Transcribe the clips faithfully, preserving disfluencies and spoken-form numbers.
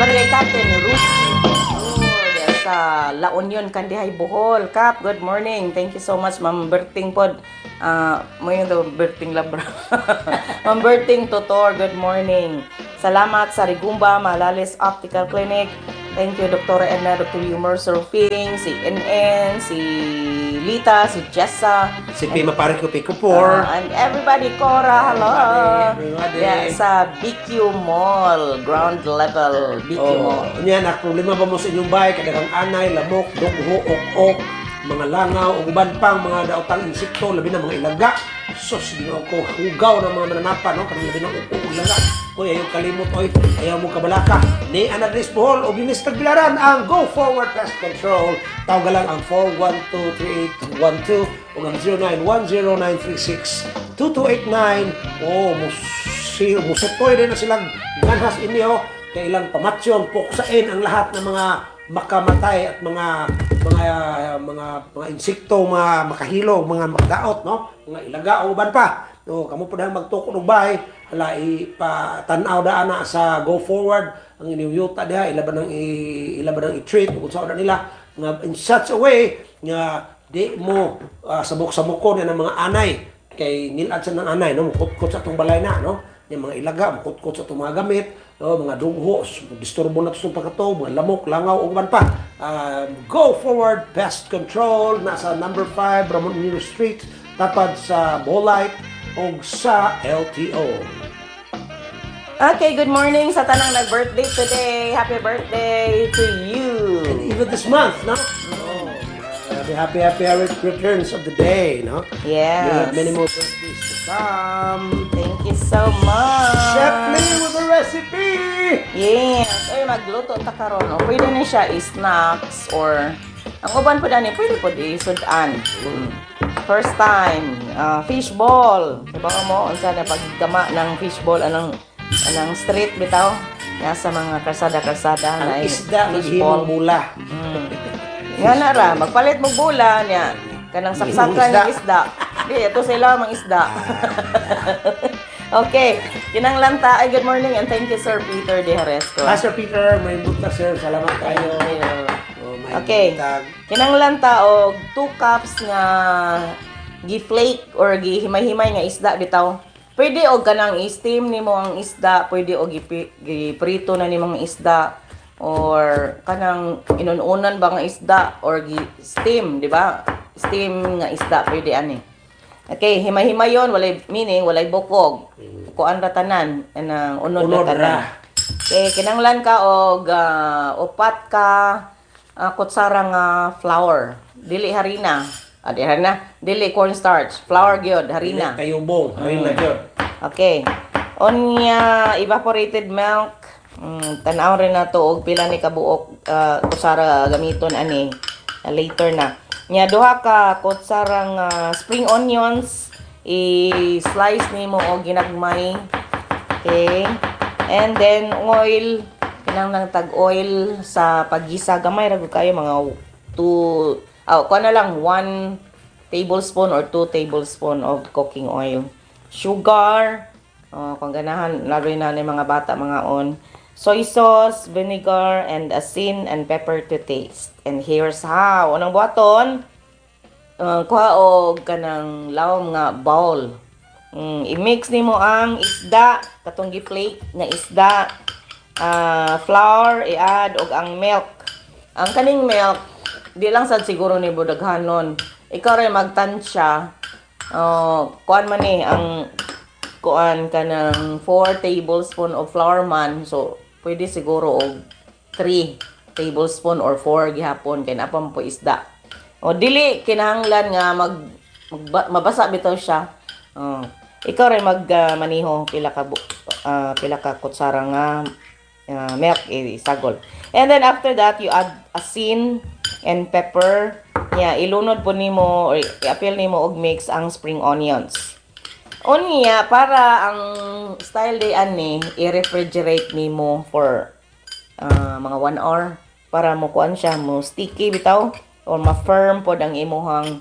Barangay Captain Rusi Tutor sa La Union, Kandihay, Bohol. Kap, good morning. Thank you so much, Ma'am Berting pod. Ah, mo yung daw Berting Labra. Ma'am Berting Tutor, good morning. Salamat sa Rigumba Malalis Optical Clinic. Thank you, Doctor Edna, Doctor Humor Surfing, si N N, si Lita, si Jessa, Si Pima Pare ko Pico four. Uh, and everybody, Cora, hello. Everybody. Yeah, sa B Q Mall, ground level, B Q Oh, Mall. Unya na problema ba mo sa inyong bahay kadaghang anay, lamok, dugho, ok-ok, mga langaw ug uban pang mga daotang insekto, labi na mga ilaga. Sus, Ginoo ko, hugaw ng mga mananapa, no, kanang labi ng upo ug ilaga. Hoy, ayaw kalimot oy, ayaw mo kabalaka. Ni ana diri sa Bohol ug dinhi sa Tagbilaran ang Go Forward Pest Control. Tawag lang ang four one two, three eight one two ug ang zero nine one zero, nine three six, two two eight nine. Oh, musi musutoy din na silang ganhas inyo kay ilang pamatyon, puksain ang lahat ng mga makamatay at mga mga mga mga insekto, mga makahilo, mga makadaot, no? Mga ilaga o uban pa. No, kamo pud ang magtukod og bahay, hala ipa tan-aw daan na sa Go Forward ang inyong yuta diha, ila ba nang i, ila ba nang i-treat ug unsa na nila nga in such a way nga di mo uh, sabok-sabokon ng mga anay kay nilad sa ng anay, no, mukutkot sa atong balay na, no, yung mga ilaga mukutkot sa atong mga gamit, no, mga dugho, disturbo na to sa pagkato, mga lamok, langaw ug uban pa um, Go Forward Pest Control, nasa number five Ramon Nero Street, tapad sa Bolite ug sa L T O. Okay, good morning sa tanang nag-birthday today. Happy birthday to you. And even this month, no? Oh, happy, happy, happy returns of the day, no? We Yes. have many more birthdays to come. Thank you so much. Chef Lee with the recipe! Yes. Ay, magluto ta karon. O, pwede ni siya i-snacks or ang uban po dani, pwede po i-sudan. Mm. First time, uh, fish ball. Diba mo, unsa na paggama ng fish ball, anong anong street bitaw? Nasa mga karsada-karsada Ang na isda, fish maghimong ball. Bula. Mm. Nga na ra, magpalit mo bula niya. Kanang saksakan Isda. ng isda. Di, ito sila mang isda. Okay, kinanglan ta. Ay, good morning and thank you, Sir Peter De Jaresco. Ah, Sir Peter, may buntag, sir. Salamat kayo. Thank you. Oh, may Okay. buntag. Kinanglan ta og two cups nga gi-flake or gihimay-himay nga isda bitaw. Pwede og kanang i-steam nimo ang isda, pwede og gipi- giprito na nimo ang isda or kanang inununan ba nga isda or gi-steam, di ba? Steam nga isda pwede ani. Okay, himay-himayon, walay meaning walay bukog. Kuan ra tanan, anang unod ra Unod tanan. ra. Okay, kinanglan ka og ah, upat ka ah, kutsara nga flour. Dili harina. Ah, di harina. Dili cornstarch. Flour gyud, harina. Dili kayubong, harina gyud. Okay. Unya, evaporated milk. Mm, tan-aw rin na to og pila ni kabuok uh, kutsara gamiton ani. Uh, later na. Nya duha ka kutsarang ah, spring onions, i-slice nimo og ginagmay. Okay. And then oil, kinahanglan tag oil sa paggisa, gamay ra gud kayo, mga two, oh, kuha na lang one tablespoon or two tablespoon of cooking oil. Sugar, oh, kung ganahan, lalo na ni mga bata mga on. Soy sauce, vinegar, and asin and pepper to taste. And here's how. Unang buhaton, uh, kuha og kanang lawom nga bowl. Mm, i-mix nimo ang isda, katong gi-flake nga isda, ah, flour, i-add og ang milk. Ang kaning milk, di lang sad siguro ni daghanon. Ikaw rin magtansya. Oh, kuan man ni ang kuan kanang four tablespoon of flour man. So, pwede siguro og three tablespoon or four gihapon kay naa pa man po isda. O dili kinahanglan nga mag, magba- mabasa bitaw siya. Oh. Ikaw rin mag ah, maniho pila ka bu- ah, pila ka kutsara nga ah, milk isagol. And then after that you add asin and pepper. Yeah, ilunod po nimo or iapil nimo og mix ang spring onions. Unya, para ang style day ani, i-refrigerate nimo for ah, mga one hour para mo kuan siya, mo sticky bitaw or ma-firm pod ang imuhang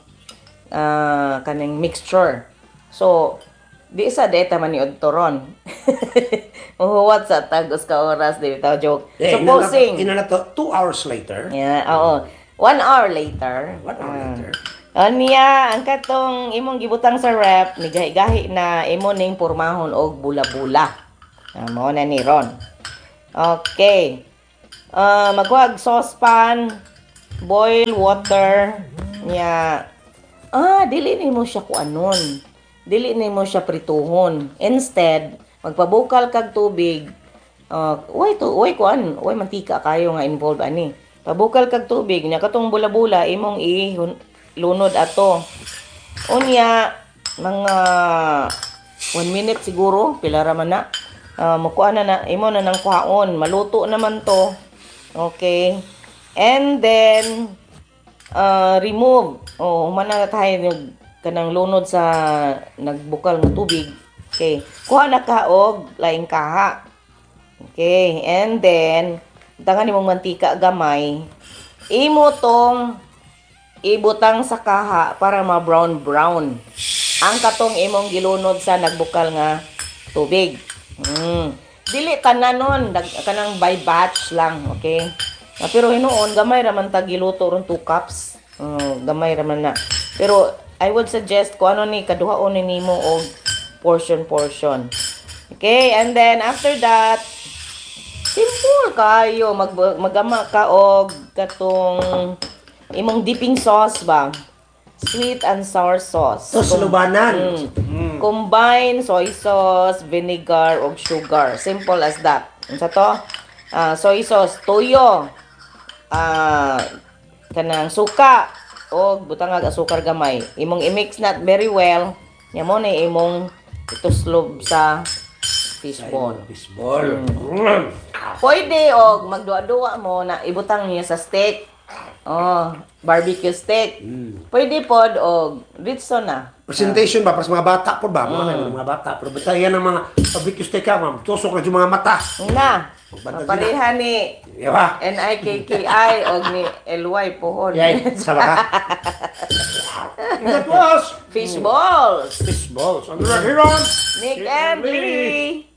ah, kaning mixture. So, Di sa deta man ni ron. Muhuwat sa tag usa ka oras di bitaw joke. Eh, Supposing Ina na to, two hours later. Yeah, oo. One hour later. One hour Ah. later. Anya, ang katong imong gibutang sa ref, ni gahi-gahi na imo ning pormahon og bula-bula. Ah, mao na ni ron. Okay. Uh, magkuhag saucepan, boil water, nya. Ah, dili nimo siya kuanon. Dili nimo siya prituhon. Instead, magpabukal kag tubig. Uh, uy, to, uy, kuan, uy, mantika kayo nga involved ani. Pabukal kag tubig, nya katong bula-bula imong i lunod ato. Unya, mga one minute siguro, pila ra man na. Uh, mukuha na na, imo na nang kuhaon. Maluto naman to. Okay. And then, uh, remove. Oh, human na tayo yung kanang lunod sa nagbukal nga tubig. Okay. Kuha na ka og laing kaha. Okay. And then, tangan nimong mantika gamay. Imo tong ibutang sa kaha para ma-brown brown. Ang katong imong gilunod sa nagbukal nga tubig. Mm. Dili tanan nun, dag, kanang by batch lang, okay? Ah, pero hinuon gamay ra man ta giluto ron two cups. Mm, gamay ra man na. Pero I would suggest kung ano ni kaduhaon ni nimo og portion portion. Okay, and then after that, simple kayo mag magama ka og katong imong dipping sauce ba? Sweet and sour sauce. Tuslobanan. Mm. Combine soy sauce, vinegar, ug sugar. Simple as that. Unsa to? Ah, soy sauce, tuyo. Ah, kanang suka og butangag asukar gamay. Imong i-mix not very well. Nya mo na imong ituslob sa fishball. Fishball. Mm. Pwede og magduwa-duwa mo na ibutang niya sa steak. Oh, barbecue steak. Pwede pod og ritso na. Presentation ba para sa mga bata po ba? Mga mm. mga bata. Pero basta yan ang mga barbecue steak ka, ma'am. Tusok na yung mga mata. Na. Magbantay Pareha ni Iya ba? N I K K I og ni L Y pohon. Yay, sama ka. That was Fish balls. Fish balls. On the record here on Nick and Lee.